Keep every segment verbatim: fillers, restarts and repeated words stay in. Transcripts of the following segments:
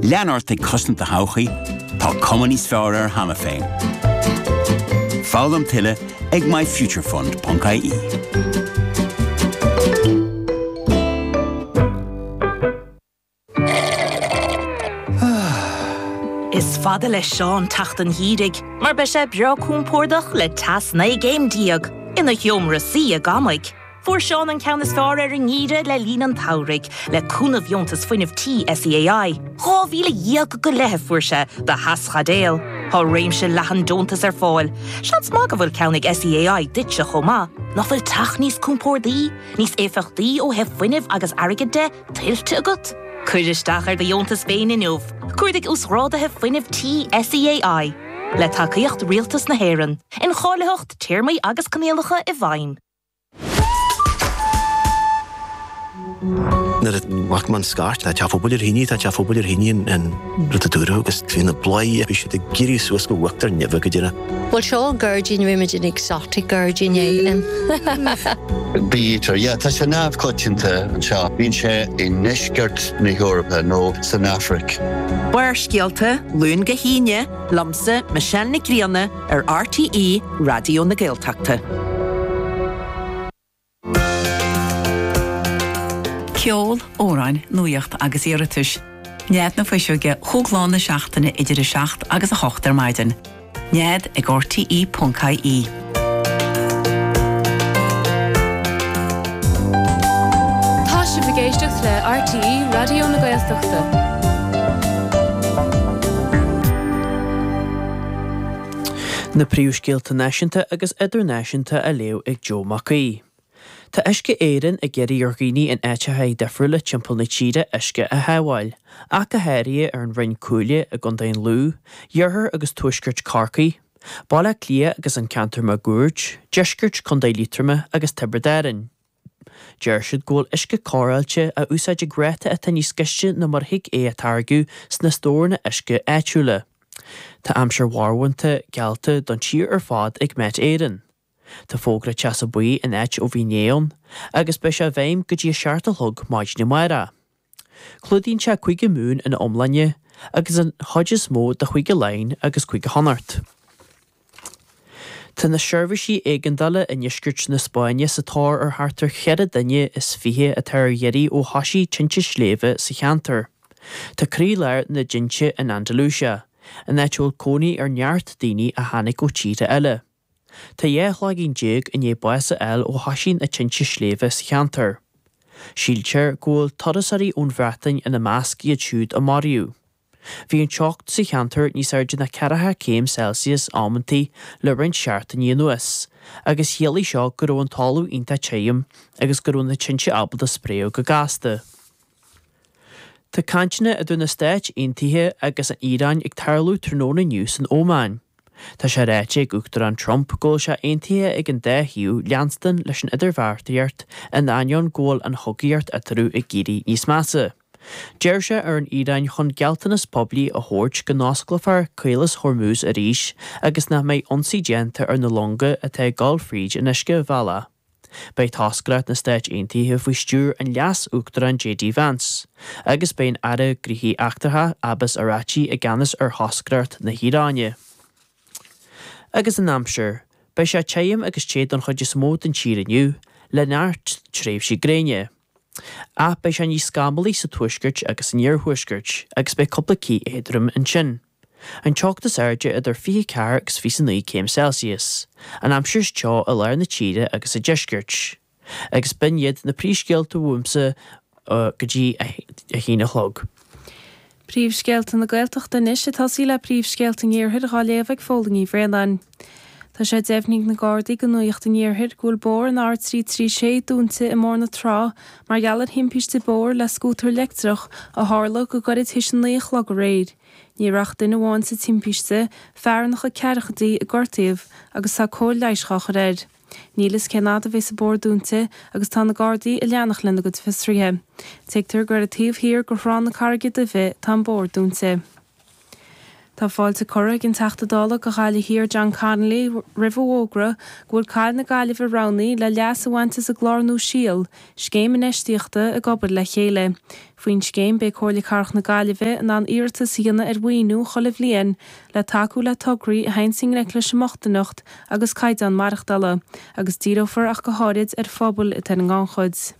Lean ort ag cosaint do thodhchaí, tá cuma níos fearr air cheana féin. Foghlaim tuilleadh ag myfuturefund.ie. Is fada le Seán teacht an gheimhridh, mar beidh sé breá compordach le teas naoi gcéim déag ina sheomra suí i gCamaigh. Fuair Seán an ceann is fearr ar an ngeimhreadh le linn an tsamhraidh, le cúnamh dheontas fuinnimh tí SEAI. Dhá mhíle dhéag go leith a fuair sé do theaschaidéal. Tá réimse leathan deontas ar fáil. Seans maith go bhfuil ceann ag SEAI duitse chomh maith. Nach bhfuil teach níos compordaí, níos éifeachtaí ó thaobh fuinnimh agus airgid de, tuillte agat? Cuir isteach ar do dheontas féin inniu. Cuardaigh uasghráduithe fuinnimh tí SEAI. Le tacaíocht Rialtas na hÉireann. Incháilitheacht, téarmaí agus coinníollacha i bhfeidhm. Nuair a bhac mé an scairt, tá teach pobail ar thine, tá teach pobail ar thine an rud a dúradh agus bhí na bladhairí, bhí siad ag éirí suas go huachtar neimhe go deireadh. Bhuel seo an gairdín, bhí muid in exotic gairdín é. Bee-eater, yeah, tá sé neamhchoitianta anseo. Bíonn sé i ndeisceart na hEorpa nó san Afraic. Barrscéalta, Luan go hAoine, liomsa Michelle Nic Grianna ar RTÉ Raidió na Gaeltachta. Ceol, amhráin, nuacht agus iarratais. Nead na Fuiseoige chúig lá na seachtaine idir a seacht agus a hocht ar maidin. Nead ag RTE ponc IE. Tá sibh ag éisteacht le RTÉ Raidió na Gaeltachta. Na príomhscéalta náisiúnta agus idirnáisiúnta á léamh ag Joe Mac Aoidh. Tá Uisce Éireann ag iarraidh ar dhaoine in áiteacha difriúla timpeall na tíre uisce a shábháil, ach go háirithe ar an Rinn Cuaille i gContae an Lú, iarthar agus tuaisceart Chorcaí, Baile Átha Cliath agus an ceantar máguaird, deisceart Chontae Liatroma agus Tiobraid Árann. Deir siad go bhfuil uisce cóireáilte á úsáid ag ráta atá níos gaiste ná mar a thig é a táirgeadh sna stóranna uisce áitiúla. Tá aimsir mharbhánta geallta don tír ar fad ag Met Éireann. Tá fógra teasa buí in áit ó bhí inné ann agus beidh sé i bhfeidhm go dtí a seacht a chlog maidin amárach. Clúdaíonn sé Cúige Mumhan ina iomláine agus an chuid is mó de Chúige Laighean agus Cúige Chonnacht. Tá na seirbhísí éigeandála i ndeisceart na Spáinne sa tóir ar thart ar cheithre duine is fiche atá ar iarraidh ó thosaigh tinte sléibhe sa cheantar. Tá croílár na dtinte in Andalusia, in áit a bhfuil cónaí ar neart daoine a tháinig ó tíortha eile. Tá dhá chloigeann déag i ndiaidh bás a fháil ó thosaigh na tinte sléibhe sa cheantar. Síltear go bhfuil turasóirí ón Bhreatain ina measc iad siúd a maraíodh. Bhí an teocht sa cheantar níos airde ná ceathracha céim Celsius amantaí le roinnt seachtainí anuas, agus chiallaigh seo go raibh an talamh iontach tirim agus go raibh na tinte ábalta spréadh go gasta. Tá cainteanna idir na Stáit Aontaithe agus an Iaráin ag tarlú tráthnóna inniu san Óman. Tá sé ráite ag Uachtarán Trump go bhfuil sé aontaithe ag an dá thaobh leanstan leis an idirbheartaíocht in ainneoin go bhfuil an chogaíocht eatarthu ag éirí níos measa. D'iarr sé ar an Iaráin chun gealltanas poiblí a thabhairt go n-osclófar Caolas Hormuz arís agus nach mbeidh ionsaí déanta ar na longa atá ag dul fríd an uiscebhealach. Beidh toscaireacht na Stáit Aontaithe faoi stiúir an Leas-Uachtaráin JD Vance, agus beidh an Aire Gnóthaí Eachtracha Abbas Araghchi i gceannas ar thoscaireacht na hIaráine. Agus an aimsir, beidh sé tirim agus te don chuid is mó den tír inniu, le neart tréimhsí gréine. Ach beidh sé níos scamallaí sa tuaisceart agus san iarthuaisceart, agus beidh cúpla cith éadrom ansin. An teocht is airde idir fiche ceathair agus fiche naoi céim Celsius. An aimsir is teo i lár na tíre agus sa deisceart. Agus b'in iad na príomhscéalta uaimse go dtí a haon a chlog. Príomhscéalta na Gaeltachta anois ag tosaí le Príomhscéalta an Iarthair dhá léamh ag Fódhla Ní Bhraonáin. Tá sé deimhnithe ag na Gardaí do Nuacht an Iarthair go bhfuil bóthar an R trí trí sé dúnta i mBóthar na Trá mar gheall ar thimpiste bóthair le scútar leictreach a tharla go gairid théis a naoi a chlog aréir. Ní raibh ach duine amháin sa timpiste, fear ina chuid ceathrachaidí a gortaíodh agus tá cóir leighis á chur air. Níl fhios cén fhad a bheas an bóthar dúnta agus tá na Gardaí ag leanacht lena gcuid fiosruithe. Tuigtear gur ar an taobh thiar de Thrá na Carraige Duibhe tá an bóthar dúnta. Tá fáilte curtha ag an Teachta Dála do Ghaillimh Thiar John Connolly roimh an bhfógra go bhfuil Cathair na Gaillimhe roghnaithe le leas a bhaint as an gclár nua Síol, scéim infheistíochta ag obair le chéile. Faoin scéim beidh Comhairle Cathrach na Gaillimhe in ann iarratas a dhéanamh ar mhaoiniú chuile bhliain le tacú le tograí a théann i ngleic leis an mbochtaineacht agus caighdeán maireachtála, agus díreofar ach go háirid ar phobail atá ar an ngannchuid.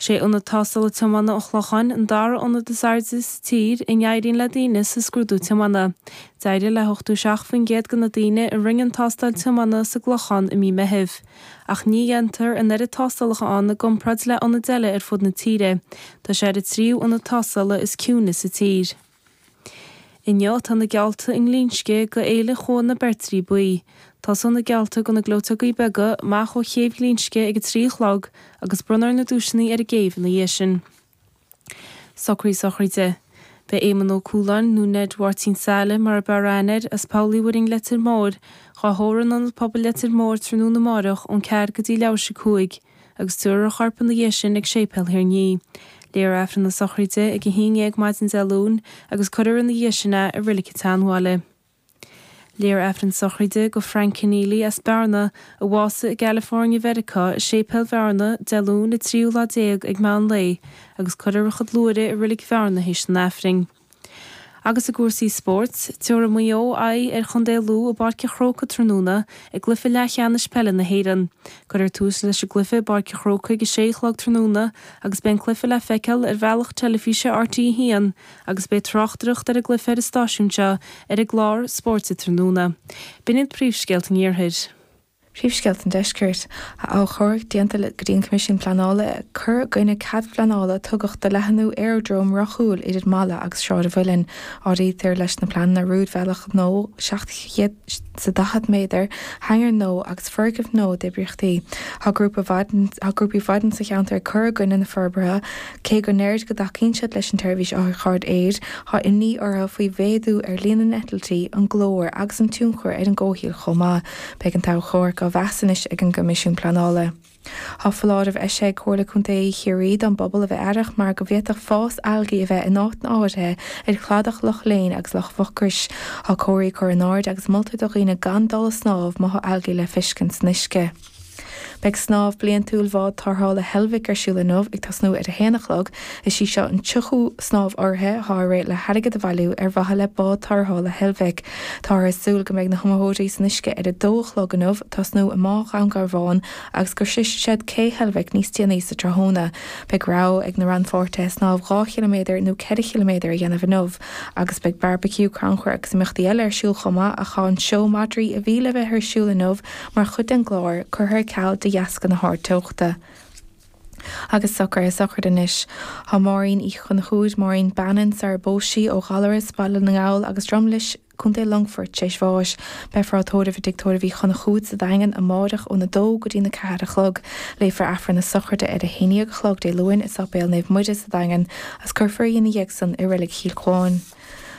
Sé ionad tástála tiomána an Chlocháin an dara ionad is airde sa tír ina n-éiríonn le daoine sa scrúdú tiomána. D'éirigh le hochtó seacht faoin gcéad de na daoine a rinne an tástáil tiomána sa gClochán i mí Meithimh. Ach ní dhéantar an oiread tástálacha ann i gcomparáid le ionaid eile ar fud na tíre. Tá sé ar an tríú ionad tástála is ciúine sa tír. Inniu tá na geallta i nGlinsce do Fhéile Chuan na Beirtrí Buí. Tosóidh na geallta do na gleoiteogaí beaga amach ó chéibh Ghlinsce ag a trí a chlog agus bronnfar na duaiseanna ar an gcéibh ina dhiaidh sin. Socruithe sochraide. Beidh Éamonn Ó Cualáin nó Ned Mháirtín Saile mar ab fhearr aithne air as Poll Uí Mhuirinn Leitir Móir, dhá thórramh in Ionad Pobail Leitir Móir tráthnóna amárach ón ceathair go dtí leathuair tar éis a cúig, agus tabharfar a chorp ina dhiaidh sin ag Séipéal Thír an Fhia. Léifear Aifreann na sochraide ag a haon déag maidin Dé Luain agus cuirfear ina dhiaidh sin é i Reilig an tSeanbhaile. Léifear Aifreann sochraide do Frank Keneally as Bearna a bhásaigh i gCalifornia Mheiriceá i Séipéal Bhearna Dé Luain an tríú lá déag ag meán lae agus cuirfear a chuid luaithre i Reilig Bhearna théis an Aifrinn. Agus i gcúrsaí spóirt, tabharfaidh Maigh Eo aghaidh ar Chontae Lú i bPáirc an Chrócaigh tráthnóna i gcluiche leathcheannais peile na hÉireann. Cuirfear tús leis an gcluiche i bPáirc an Chrócaigh ag a sé a chlog tráthnóna agus beidh an cluiche le feiceáil ar bhealach teilifíse RTÉ a haon agus beidh tráchtaireacht ar an gcluiche ar an stáisiún seo ar an gclár Spóirt tráthnóna. B'in iad príomhscéalta an Iarthair. Príomhscéalta an Deiscirt. Tá achomharc déanta go dtí an Coimisiún Pleanála ag cur i gcoinne cead pleanála a tugadh do leathnú aerodróm rathúil idir Mala agus Sráid an Mhuilinn. Áirítear leis na pleananna rúidbhealach nua seacht gcéad is daichead méadar, hangar nua agus foirgneamh nua d'oibríochtaí. Tá grúpa tá grúpaí feadán sa cheantar ag cur i gcoinne na forbartha, cé go ndeirid go dtacaíonn siad leis an tseirbhís otharchairr aeir, tá imní orthu faoi mhéadú ar líon na n-eitiltí, an glór agus an tionchar ar an gcomhshaol chomh maith. Beidh an t-achomharc á mheas anois ag an gCoimisiún Pleanála. Tá foláireamh eisithe ag Comhairle Contae Chiarraí don bpobal a bheith aireach mar go bhféadfadh fás algaí a bheith in áit áirithe ar chladach Loch Léin agus Loch Mhucrois. Tá comharthaí curtha in airde agus moltar do dhaoine gan dul ag snámh má tá algaí le feiscint san uisce. Beidh snámh bliantúil bhád tarrthála Heilbhic ar siúl inniu ag tosnú ar a haon a chlog, is í seo an tríochú snámh urraithe atá ar le hairgead a bhailiú ar mhaithe le bád tarrthála Heilbhic. Táthar ag súil go mbeidh na hiomaitheoirí san uisce ar a dó a chlog inniu tosnú i mBá Dhún Garbhán agus go sroisfidh siad cé Heilbhic níos déanaí sa tráthnóna. Beidh rogha ag na rannpháirtithe snámh dhá chiliméadar nó ceithre chiliméadar a dhéanamh inniu, agus beidh barbecue, crannchur agus imeachtaí eile ar siúl chomh maith ach tá an seó madraí a bhí le bheith ar siúl inniu mar chuid den gclár curtha ar ceal de dheasca na hardteochta. Agus socruithe sochraide anois. Tá Máirín Uí Chonchúir, Máirín Bannon, sar a phós sí ó Ghallaras, Baile na nGall agus Drumlish, Contae Longfoirt tar éis bháis. Beifear á tórramh i dTigh Tórraimh Uí Chonchúir sa Daingean amárach óna dó go dtí na ceathair a chlog. Léifear Aifreann na sochraide ar a haon déag a chlog Dé Luain i Sáipéal Naomh Muire sa Daingean agus cuirfear í ina dhiaidh san i Reilig Chill Chuáin.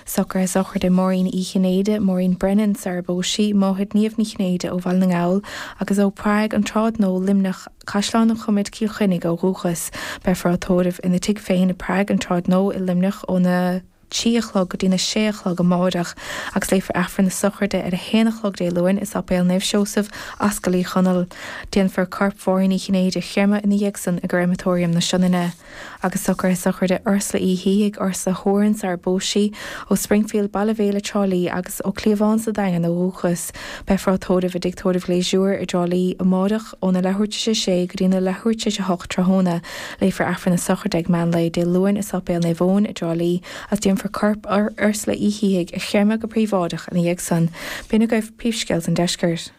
Socruithe sochraide Máirín Uí Chinnéide, Maureen Brennan, sar a phós sí, máthair Niamh Ní Chinnéide ó Bhaile na nGall agus ó Prague an Tsráid Nua, Luimneach, Caisleán an Choimid, Cill Chainnigh ó dhúchas. Beifear á tórramh ina tigh féin i Prague an Tsráid Nua i Luimneach óna trí a chlog go dtí na sé a chlog amárach agus léifear Aifreann na sochraide ar a haon a chlog Dé Luain i Sáipéal Naomh Seosamh, Ascaill Uí Chonaill. Déanfar corp Mháirín Uí Chinnéide a chreimeadh ina dhiaidh san i gCreimeatóiriam na Sionainne. Agus socruithe sochraide Ursula Uí Shíthigh, Ursula Horan sar a phós sí, ó Springfield, Baile Bhéile Trá Lí agus ó Cliabhán sa Daingean ó dhúchas. Beifear á tórramh i dTigh Tórraimh Ghléisiúir i dTrá Lí amárach óna leathuair tar éis a sé go dtí na leathuair tar éis a hocht tráthnóna. Léifear Aifreann na sochraide ag meán lae Dé Luain i Sáipéal Naomh Eoin i dTrá Lí agus déanfar corp Ursula Uí Shíthigh a chreimeadh go príobháideach ina dhiaidh san. B'in agaibh príomhscéalta an Deiscirt.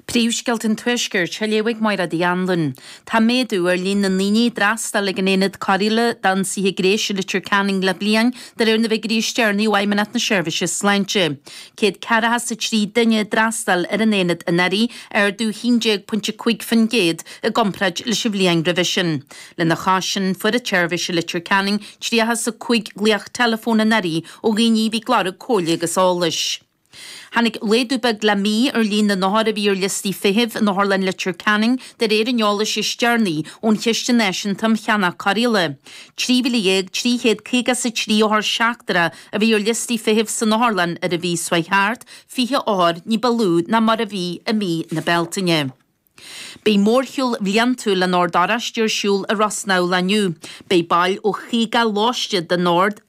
Príomhscéalta an Tuaiscirt, á léamh ag Máire Uí Anluain. Tá méadú ar líon na ndaoine a d'fhreastail ag an Aonad Cóireála d'Ionsaithe Gnéis i Leitir Ceanainn le bliain, de réir na bhfigiúirí is deireanaí ó Fheidhmeannacht na Seirbhíse Sláinte. Céad ceathracha is a trí duine a d'fhreastail ar an aonad anuraidh, ardú haon déag pointe cúig faoin gcéad i gcomparáid leis an bhliain roimhe sin. Lena chois sin, fuair an tseirbhís i Leitir Ceanainn tríocha is a cúig glaoch teileafóin anuraidh ó dhaoine a bhí ag lorg comhairle agus eolais. Tháinig laghdú beag le mí ar líon na n-othar a bhí ar liostaí feithimh in Otharlann Leitir Ceanainn de réir an eolais is deireanaí ón Chiste Náisiúnta um Cheannach Cóireála. Trí mhíle dhéag trí chéad caoga is a trí othar seachtrach a bhí ar liostaí feithimh san otharlann ar an mhí seo thart, fiche othar ní ba lú ná mar a bhí i mí na Bealtaine. Beidh mórshiúl bliantúil an Oird Oráistigh ar siúl i Ros na Mhíl inniu. Beidh baill ó chaoga lóiste den Ord